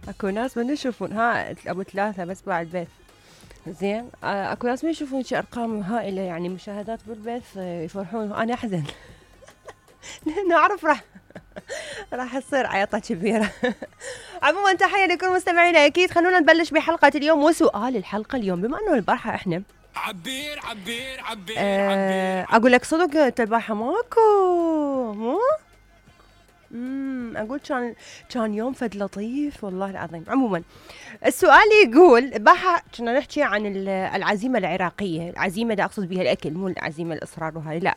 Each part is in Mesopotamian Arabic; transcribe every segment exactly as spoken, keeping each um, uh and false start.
اكو ناس ما يشوفون ها ابو ثلاثة بس بعد البث. زين آه، اكو ناس ما يشوفون شي ارقام هائلة يعني مشاهدات بالبث آه، يفرحون، انا احزن لانه اعرف راح راح تصير عيطة كبيرة. عموما تحية لكل مستمعينا اكيد. خلونا نبلش بحلقة اليوم وسؤال الحلقة اليوم، بما انه البارحة احنا عبير عبير عبير أه عبير اقول لك صدق انت البارحة ماكو مو امم اقول كان كان يوم فد لطيف والله العظيم. عموما السؤال يقول بحا كنا نحكي عن العزيمه العراقيه، العزيمه دا اقصد بها الاكل مو العزيمه الاصرار وهاي لا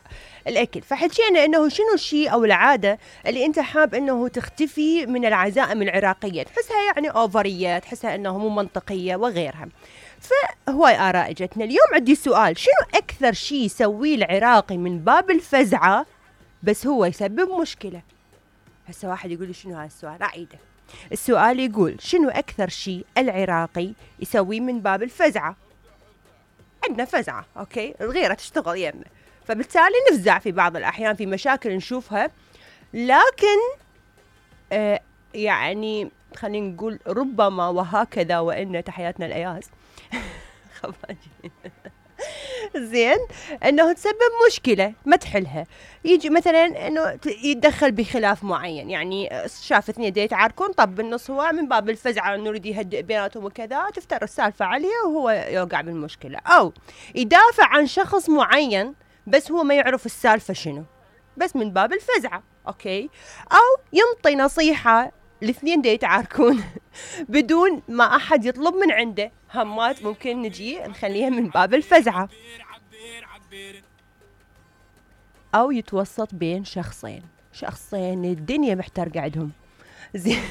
الاكل. فحكينا انه شنو الشيء او العاده اللي انت حاب انه تختفي من العزائم العراقيه، تحسها يعني اوفريه، تحسها انه مو منطقيه وغيرها. فهواي اراء اجتنا. اليوم عندي سؤال، شنو اكثر شيء يسويه العراقي من باب الفزعه بس هو يسبب مشكله؟ هسه واحد يقول لي شنو هذا السؤال، اعيده. السؤال يقول شنو أكثر شيء العراقي يسويه من باب الفزعة؟ عندنا فزعة أوكي، الغيرة تشتغل يمنا، فبالتالي نفزع في بعض الأحيان في مشاكل نشوفها، لكن آه يعني خلينا نقول ربما وهكذا وإن تحياتنا الأياس خفاجين زين انه تسبب مشكله ما تحلها. يجي مثلا انه يتدخل بخلاف معين، يعني شاف اثنين دي يتعاركون، طب بالنص هو من باب الفزعه انه يريد يهدئ بيناتهم وكذا، تفتر السالفه عليه وهو يوقع بالمشكله. او يدافع عن شخص معين بس هو ما يعرف السالفه شنو، بس من باب الفزعه اوكي. او ينطي نصيحه الاثنين دي يتعاركون بدون ما احد يطلب من عنده، همات ممكن نجي نخليها من باب الفزعه. او يتوسط بين شخصين شخصين الدنيا محترقه عندهم زين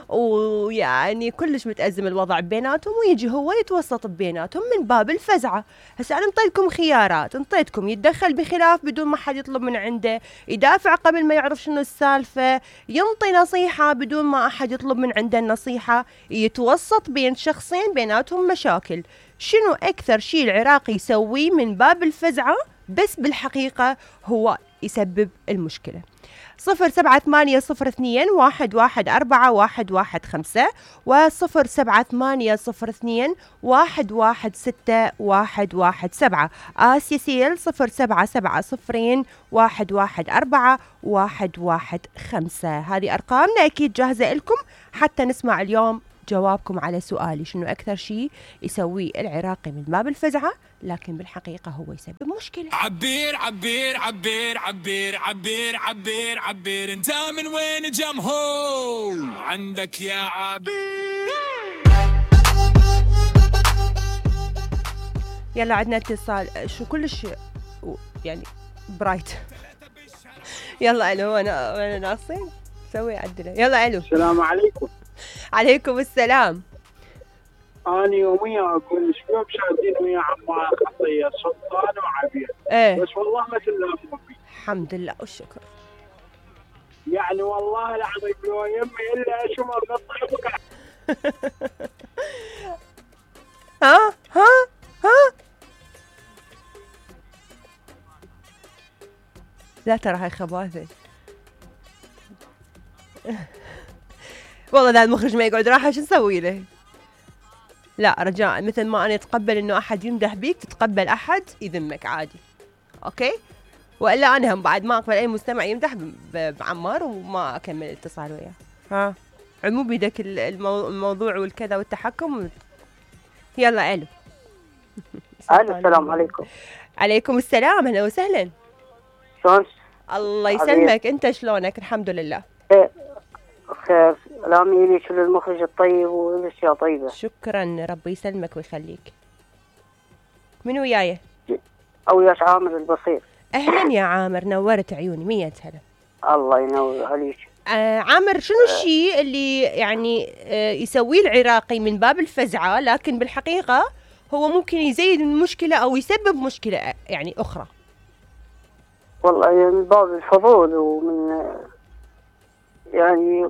ويعني كلش متأزم الوضع بيناتهم، ويجي هو يتوسط بيناتهم من باب الفزعة. هسه أنا انطيتكم خيارات، انطيتكم يتدخل بخلاف بدون ما حد يطلب من عنده، يدافع قبل ما يعرف شنو السالفة، ينطي نصيحة بدون ما أحد يطلب من عنده النصيحة، يتوسط بين شخصين بيناتهم مشاكل. شنو أكثر شيء العراقي يسويه من باب الفزعة بس بالحقيقة هو يسبب المشكلة؟ صفر سبعة ثمانية صفر اثنين واحد واحد أربعة واحد واحد خمسة وصفر سبعة ثمانية صفر اثنين واحد واحد ستة واحد واحد سبعة. آسيا سيل صفر سبعة سبعة صفرين واحد واحد أربعة واحد واحد خمسة. هذه أرقامنا أكيد جاهزة لكم حتى نسمع اليوم جوابكم على سؤالي شنو أكثر شيء يسويه العراقي من باب الفزعة لكن بالحقيقة هو يسبب مشكلة. عبير عبير عبير عبير عبير عبير عبير انت من وين جمهور عندك يا عبير. يلا عندنا اتصال شو كلش يعني برايت. يلا الو انا انا ناقصين سوي عدله. يلا الو. السلام عليكم. عليكم السلام. أنا يوميا أقول شلون شادين ويا عمار خطية سلطان وعبير ايه بس والله ما تلامون بي. الحمد لله والشكر. يعني والله العظيم لو يمي إلا أشمر نطيبك. ها ها ها لا ترى هاي خباثة والله ذا المخرج ما يقعد راحة شو نسوي له؟ لا رجاء مثل ما أنا أتقبل إنه أحد يمدح بيك تتقبل أحد يذمك عادي أوكي؟ وإلا أنا هم بعد ما أقبل أي مستمع يمدح بعمار وما أكمل الاتصال وياه. ها عمو بيدك المو... الموضوع والكذا والتحكم. يلا ألو. ألو السلام عليكم. عليكم السلام أهلا وسهلا. شلونك؟ الله يسلمك. أنت شلونك؟ الحمد لله إيه خير. سلامي لك للمخرج الطيب والأشياء طيبة. شكرا ربي يسلمك ويخليك. من وياي؟ أو ياش عامر البصير. أهلا يا عامر نورت عيوني مية هلا. الله ينور عليك. آه عامر شنو الشيء اللي يعني آه يسويه العراقي من باب الفزعة لكن بالحقيقة هو ممكن يزيد المشكلة أو يسبب مشكلة يعني أخرى؟ والله من باب الفضول ومن يعني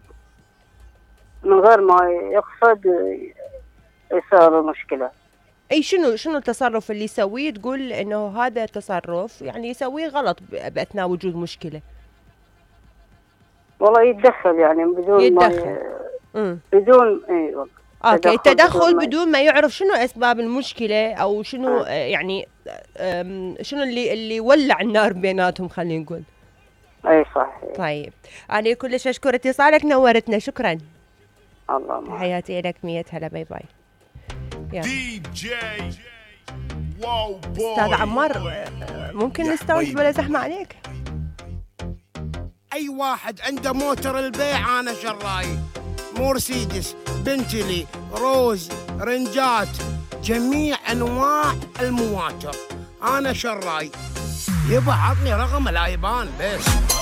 من غير ما يقصد يصير مشكلة. أي شنو شنو التصرف اللي يسويه تقول إنه هذا تصرف يعني يسويه غلط بأثناء وجود مشكلة؟ والله يتدخل يعني بدون يتدخل. ما امم بدون ايوه اوكي، تدخل التدخل بدون ما- بدون ما يعرف شنو اسباب المشكله او شنو آه. آه، يعني آم، شنو اللي اللي ولع النار بيناتهم، خلينا نقول. اي صح. طيب انا كلش اشكر اتصالك، نورتنا، شكرا. الله معك. تحياتي لك، مية هلا، باي باي. يلا دي جي واو بوي. استاذ عمار، آه، ممكن نستوعب بلا زحمه عليك؟ اي واحد عنده موتر البيع انا شراي، مرسيدس، بنتلي، روز، رنجات، جميع انواع المواتر انا شراي. يبا عطني رقم الايبان بس.